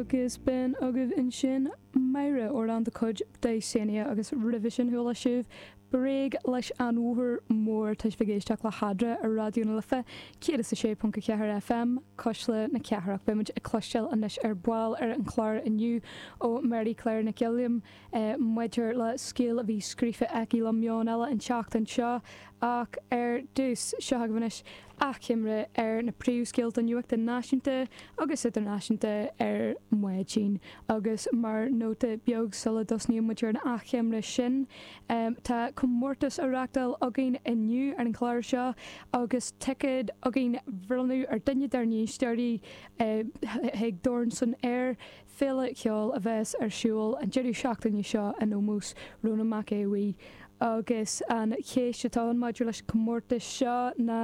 Agus b'in agaibh ansin Máire, amhrán de chuid Dysania agus roimhe sin chuala sibh Bréag leis an Bhóthar Mór. Tá sibh ag éisteacht le hEadra ar Raidió na Life 106.4 FM, Cuisle na Cathrach. Beidh muid ag cloisteáil anois ar ball ar an chlár inniu ó Mary Claire Nic Uilliam maidir le scéal a bhí scríofa aici le Meon Eile an tseachtain seo ach ar dtús, seo agaibh anois achoimre ar na príomhscéalta nuachta náisiúnta agus idirnáisiúnta ar maidin. Agus mar nóta beag sula dtosnaíonn muid ar an achoimre sin, tá comórtas á reachtáil againn inniu ar an chlár seo agus ticéad againn a bhronnadh ar duine dár n-éisteoirí chuig Dorn san Aer, Féile cheoil a bheas ar siúl an deireadh seachtaine seo in ómós Rónán Mac Aodha Bhuí. Agus an cheist atá ann maidir leis an chomórtas seo ná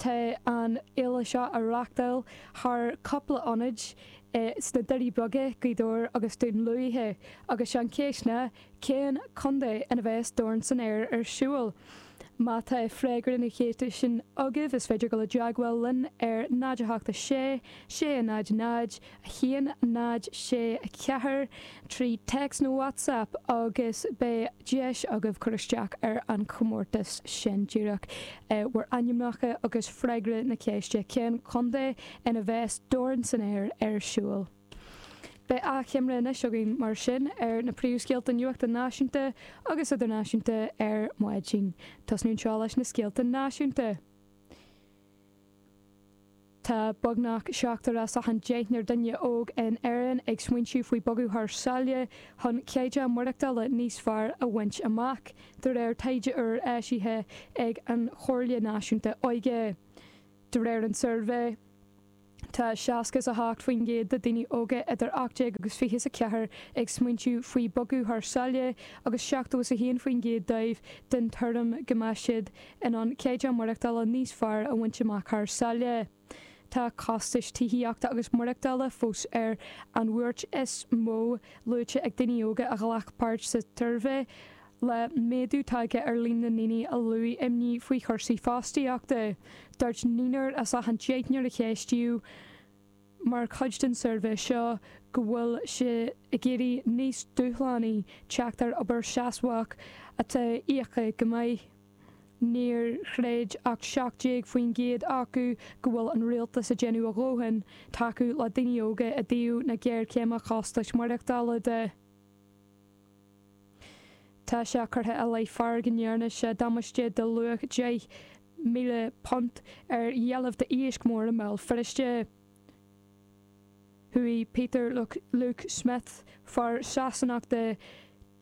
tá an fhéile seo á reachtáil thar cúpla ionad sna Doirí Beaga, Gaoth Dobhair agus Dún Lúiche agus sé an cheist ná cén contae ina bheas Dorn san Aer ar siúl? Má tá freagra na ceiste sin agaibh, is féidir dul i dteagmháil linn ar 0 8 6 6 0 0 1 0 6 4 trí téacs nó WhatsApp agus beidh deis agaibh cur isteach ar an chomórtas sin. Díreach bhur ainmneacha agus freagra na ceiste, cén contae ina bheas Dorn san Aer ar siúl? Beidh achoimre anois againn mar sin ar na príomhscéalta nuachta náisiúnta agus idirnáisiúnta ar maidin. Tosnú anseo leis na scéalta náisiúnta. Tá beagnach seachtar as achan deichniúr duine óg in Éirinn ag smaointiú faoi bogadh thar sáile chun caighdeán maireachtála níos fearr a bhaint amach, de réir taighde úr eisithe ag an Chomhairle Náisiúnta Óige. De réir an tsuirbhé, Tá 68% de daoine óga idir 18 agus 24 ag smaointiú faoi bogadh thar sáile agus 71% dóibh den tuairim go mbeadh siad in ann caighdeán maireachtála níos fearr a bhaint amach thar sáile. Tá costais tithíochta agus maireachtála fós ar an bhuairt is mó luaite ag daoine óga a ghlac páirt sa tsuirbhé, Le méadú tagtha ar líon na ndaoine a luaigh imní faoi chúrsaí fostaíochta, dúirt naonúr as achan deichniúr a ceistíodh mar chuid den suirbhé seo go bhfuil sé ag éirí níos dúshlánaí teacht ar obair sheasmhach atá íoctha go maith. Níor chreid ach 17% acu go bhfuil an rialtas ag déanamh a dhóthain tacú le daoine óga i dtaobh na géarchéime costais maireachtála de. Tá sé curtha i leith fear go ndearna sé damáiste de luach £10,000 ar dheilbh d'iasc mór i mBéal Feirste. Chuaigh Peter Luke Smith, fear Sasanach de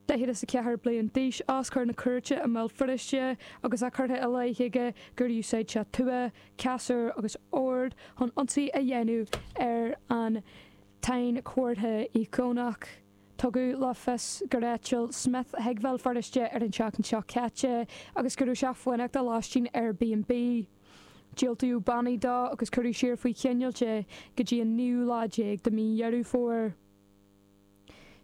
44 bliain d'aois, os comhair na cúirte i mBéal Feirste agus é curtha i leith aige gur úsáid sé tua, casúr agus ord chun ionsaí a dhéanamh ar an tsainchomhartha íocónach. Tugadh le fios gur eitil Smith chuig Béal Feirste ar an tseachtain seo caite agus go raibh sé ag fanacht i lóistín Airbnb. Diúltaíodh bannaí dó agus cuireadh siar faoi choinneáil é go dtí an naoú lá déag de mhí Dheireadh Fómhair.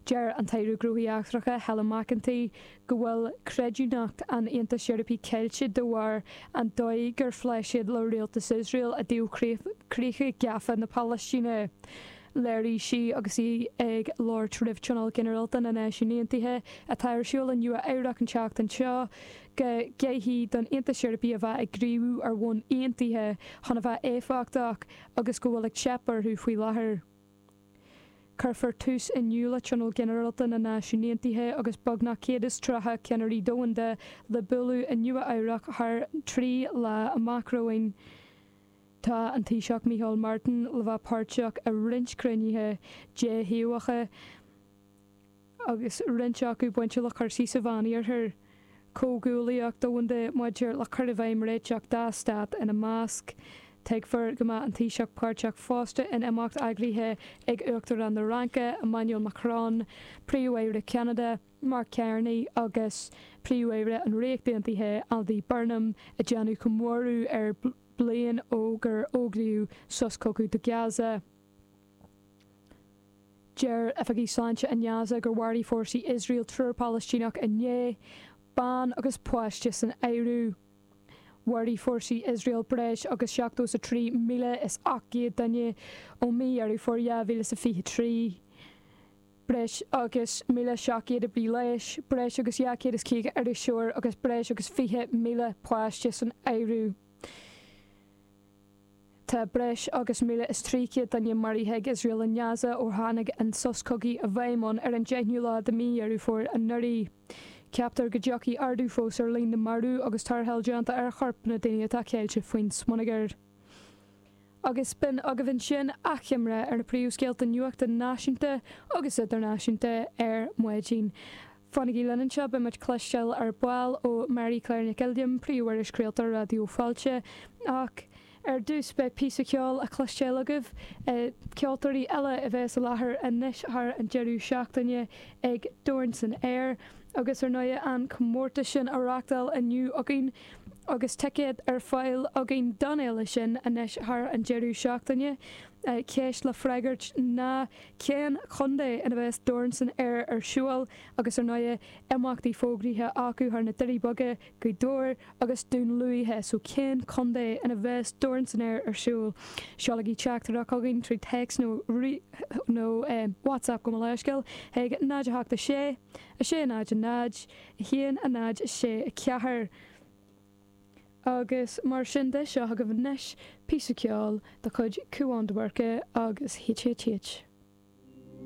Deir an tAire Gnóthaí Eachtracha Helen McEntee go bhfuil creidiúnacht an Aontais Eorpaigh caillte de bharr an dóigh gur phléigh siad le rialtas Iosrael i dtaobh chríocha gafa na Palaistíne. Léirigh sí agus í ag labhairt roimh Tionól Ginearálta na Náisiún Aontaithe atá ar siúl i Nua Eabhrac an tseachtain seo go gcaithfidh don Aontas Eorpaigh a bheith ag gníomhú ar bhonn aontaithe chun a bheith éifeachtach agus go bhfuil ag teip orthu faoi láthair. Cuirfear tús inniu le Tionól Ginearálta na Náisiún Aontaithe agus beagnach 130 ceannairí domhanda le bualadh i Nua Eabhrac thar 3 lá amach romhainn. Tá an Taoiseach Micheál Martin le bheith páirteach i roinnt cruinnithe déthaobhacha agus roinnt acu bainte le cúrsaí sa Mheánoirthear, comhghuaillíocht domhanda maidir le cur i bhfeidhm réiteach dá stát ina measc. Tuigfear go mbeidh an Taoiseach páirteach fosta in imeacht eagraithe ag Uachtarán na Fhraince, Emmanuel Macron, Príomh-Aire Cheanada, Mark Carney agus Príomh-Aire an Ríocht Aontaithe, Andy Burnham, ag déanamh comóradh ar bliain ó gur fógraíodh sos cogaidh do Gaza. Deir oifigigh sláinte i nGaza gur mharaigh fórsaí Iosrael triúr Palaistíneach inné, bean agus páiste san áireamh. Mharaigh fórsaí Iosrael breis agus 73,800 duine ó mí Dheireadh Fómhair 2023. Breis agus 1,700 oibrí leighis, breis agus 250 iriseoir agus breis agus 20,000 páiste san áireamh. Tá breis agus 1,300 duine maraithe ag Iosrael i nGaza ó tháinig an sos cogaidh i bhfeidhm ann ar an 10ú lá de mhí Dheireadh Fómhair anuraidh. Ceaptar go dtiocfaidh ardú fós ar líon na marbh agus tarrtháil déanta ar choirp na daoine atá ceilte faoin smionagar. Agus b'in agaibh ansin achoimre ar na príomhscéalta nuachta náisiúnta agus idirnáisiúnta ar maidin. Fanaigí linn anseo, beidh muid cloisteáil ar ball ó Mary Claire Nic Uilliam, Príomh-Irischraoltóir Raidió Fáilte. Ach ar dtús beidh píosa ceoil á chloisteáil agaibh, ceoltóirí eile a bheas i láthair anois thar an deireadh seachtaine ag Dorn san Aer agus ar ndóigh an comórtas sin á reachtáil inniu againn agus ticéad ar fáil againn don fhéile sin anois thar an deireadh seachtaine. Ceist le freagairt ná cén chontae ina bheas Dorn san Aer ar siúl agus ar ndóigh imeachtaí fógraithe acu thar na Doirí Beaga, Gaoth Dobhair agus Dún Lúiche so cén chontae ina bheas Dorn san Aer ar siúl? Seolaigí teachtaireacht chugainn trí téacs nó nó WhatsApp gabh mo leithscéal chuig 0 8 6 6 0 0 1 0 6 4. Agus mar sin de, seo agaibh anois píosa ceoil de chuid Cúán de Búrca agus HHH.